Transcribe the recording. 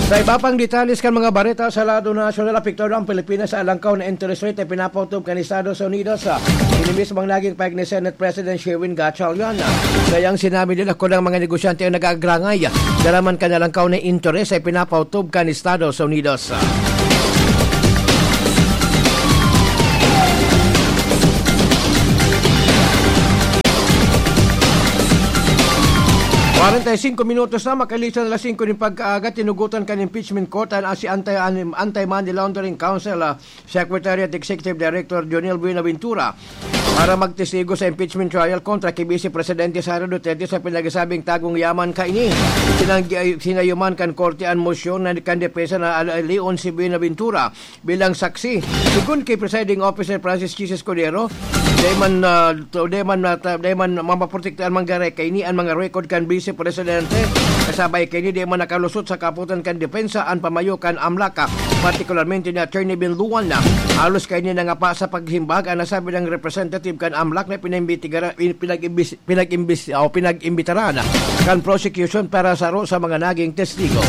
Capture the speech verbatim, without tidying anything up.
Sa iba pang detalles kan mga bareta sa lado nasyonal, apektado ang Pilipinas sa alangkaw na interest rate na pinapautob kan Estados Unidos. Ini mismo ang naging pahayag ni Senate President Sherwin Gatchalian. Kaya ang sinabi nila, kung ang mga negosyante ang nag-aagrangay, daraman kan alangkaw na interest ay pinapautob kan Estados Unidos. Kwarenta y singko minutos na makalisan alas singko nin pagkaaga, tinugutan kan impeachment court an, si anti, an, Anti-Money Laundering Council, ah, Secretary at Executive Director Jonel Buenaventura para magtestigo sa impeachment trial kontra ki Vice Presidente Sara Duterte sa pinagsabing tagong yaman kaini. Sinanggi-, sinayuman kan korte an mosyon na kan depensa na al-, alion si Buenaventura bilang saksi. Segun ki Presiding Officer Francis Chiz Escudero, di man, ah, to, di man, ah, ta-, di man mamaprotektahan man gare kaini an mga record kan Vice Presidente. Kasabay kaini, di man nakalusot sa kaputan kan depensa an pamayo kan AMLAC, partikularmente ni Attorney Ben Luan. Halos kaini nangapa sa paghimbag an nasabi ng representative kan AMLAC na pinaimbestigar-, pinag-imbis-, pinag-imbis-, o pinag-imbitaran kan prosecution para saro sa mga naging testigo.